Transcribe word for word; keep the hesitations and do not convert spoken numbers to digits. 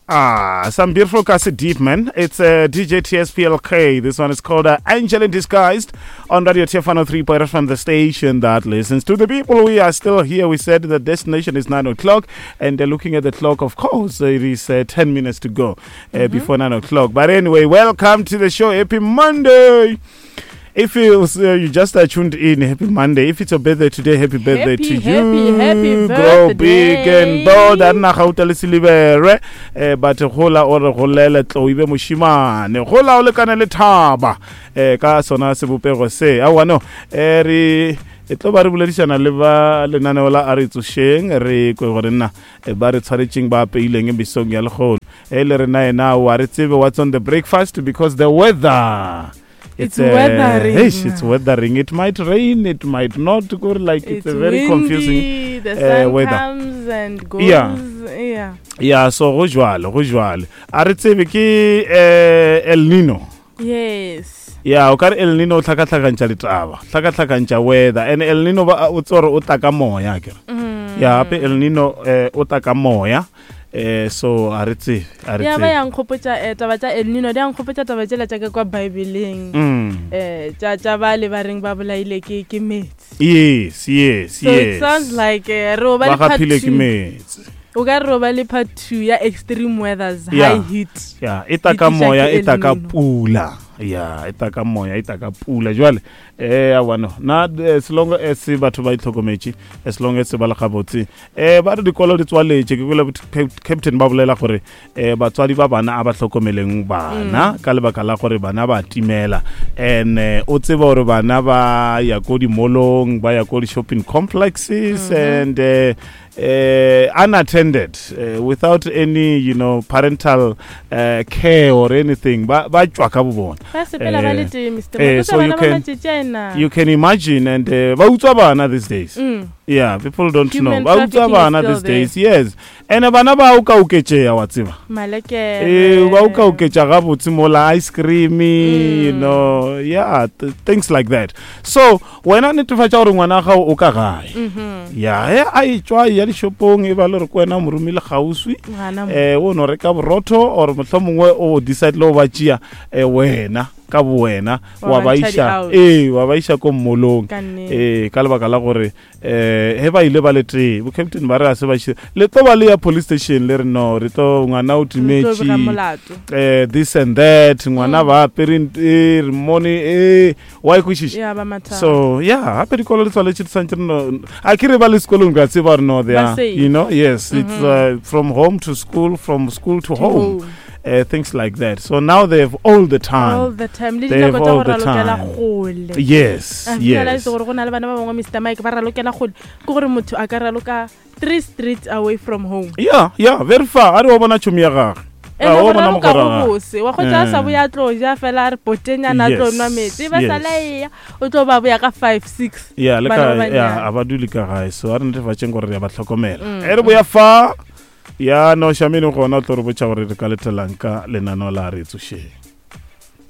Ah, some beautiful Kasi Deep, man. It's uh, D J T S P L K. This one is called uh, Angel in Disguise on Radio T F one oh three point F M, the station that listens to the people. We are still here. We said the destination is nine o'clock, and uh, looking at the clock, of course, it is, uh, ten minutes to go, uh, Mm-hmm. before nine o'clock. But anyway, welcome to the show. Happy Monday. If you, uh, you just uh, tuned in, happy Monday. If it's your birthday today, happy birthday Happy, to happy, you. happy Grow big and birthday. bold. A nna gauta le silibere. Eh, but gola o re golele tlo ibe moshimane. Gola o lekane le thaba. Eh, ka sona sebopego se. Aowa no. Eh, re e tlo ba re boledišana le ba lenaneo la A Re Tsošeng, re kwe gore nna, eh, ba re tshwaretšeng ba apeileng mesong ya lehono. Eh, le rena ena, wa re tsebe what's on the breakfast because the weather. It's It's, uh, weathering. Eish, it's weathering. It might rain, it might not. Go like it's, It's a very windy, confusing, the uh, sun weather. comes and goes. Yeah. Yeah. Yeah, so go jwale, go jwale. A re tsebe ke, eh, El Nino. Yes. Yeah, o ka re El Nino o tlhakatlhakantšha ditaba, tlhakatlhakantšha weather. And El Nino ba o tsore o tla ka moya, akere. Mm. Yeah, hape El Nino, eh, o tla ka moya. Eh, so a re tsebe, a re Ya ba tsebe. ya nkgopotša, eh, taba tša El Nino, di a nkgopotša taba tšela tša ka kwa Bibleng. Mm. Eh, tša, tša ba le ba reng ba bolaile ke, ke metsi. Yes, yes, So it yes. sounds like, eh, re o ba Ba le part gapile ke two. metsi. O ka re o ba le part two ya extreme weathers, Yeah. high heat. Yeah, e tla ka Di tliša moya, ke e tla El ka Nino. pula. Yeah, e tla ka moya, e tla ka pula. Jwale, eh, aowa no. Nna, as long as batho ba itlhokometše, as long as ba le gabotse, eh, ba re dikolo di tswaletše. Ke kwele Cap-, captain ba bolela gore, eh, batswadi ba bana a ba hlokomeleng bana, Mm. ka lebaka la gore bana ba timela. And, eh, o tseba gore bana ba ya ko di-mallong, ba ya ko di-shopping complexes, Mm-hmm. and, eh, eh, unattended, eh, without any, you know, parental, eh, care or anything. Ba, ba tšwa ka bo bona. Ba sepela ba le Eh, tee, Mister eh, Mabotja, so you bana ba can matšatši a ena. you can imagine, and, eh, ba utswa bana these days. Mm. Yeah, people don't Human know. Ba utswa trafficking is bana still these there. days, yes. And bana ba o ka oketšea, wa tseba. Malekere. Eh, ba o ka oketša gabotse mola ice cream, you Mm. know, yeah, th-, things like that. So, wena netefatša gore ngwana wa gago o ka gae. Mm-hmm. Yeah, he a e tšwa ya dishopong, e ba le gore ke wena o mo romile kgauswi. Ngwana mo. Eh, o no reka borotho or mohlomongwe o decide le go ba tšea, eh, wena ka bo wena, Wa wa ba ba ntšha iša, di-out. ee, wa ba iša ko mmolong. Ka nnete. Ee, ka lebaka la gore, eh, he ba ile ba le tee, bo captain ba re a se ba iše, le tlo ba le ya police station le re no, re tlo ngwana o Re tlo bega timetše, molato. eh, this and that, ngwana Mm. ba apere nt-, eh, re mmone, eh, wa e kwešiša? Ya ba mathata. So, yeah, gape dikolo di tswaletše di swantše re no, a ke re ba le sekolong ka tseba gore no, they Ba are, safe. you know, yes, it's, Mm-hmm. uh, from home to school, from school to To home. home. Uh, things like that. So now they have all the time. All the time. Le They have dinako tša all go the ralokela time. kgole. Yes, I realize yes. gore go na le bana ba bangwe, Mister Mike, ba ralokela kgole. Ke gore motho a ka raloka three streets away from home. Yeah, yeah, very far. A re wa bona tšhomi ya gagwe. And Ah, go wa bona raloka mogwera go wa gagwe. bose. Wa kgotsa a sa Eh. boya a tlo ja fela a re potenyana a tlo Yes, nwa metsi. Ba yes. sala e ya, o tlo ba boya ka five, six. Yeah, le Bana ka, ba banyane. yeah, a ba dule ka gae. So a re netefatšeng gore re a ba hlokomela. Mm, E re boya fa, ya no Shamini gona o tlo re botša gore re ka letelang ka lenaneo la Re Tsošeng.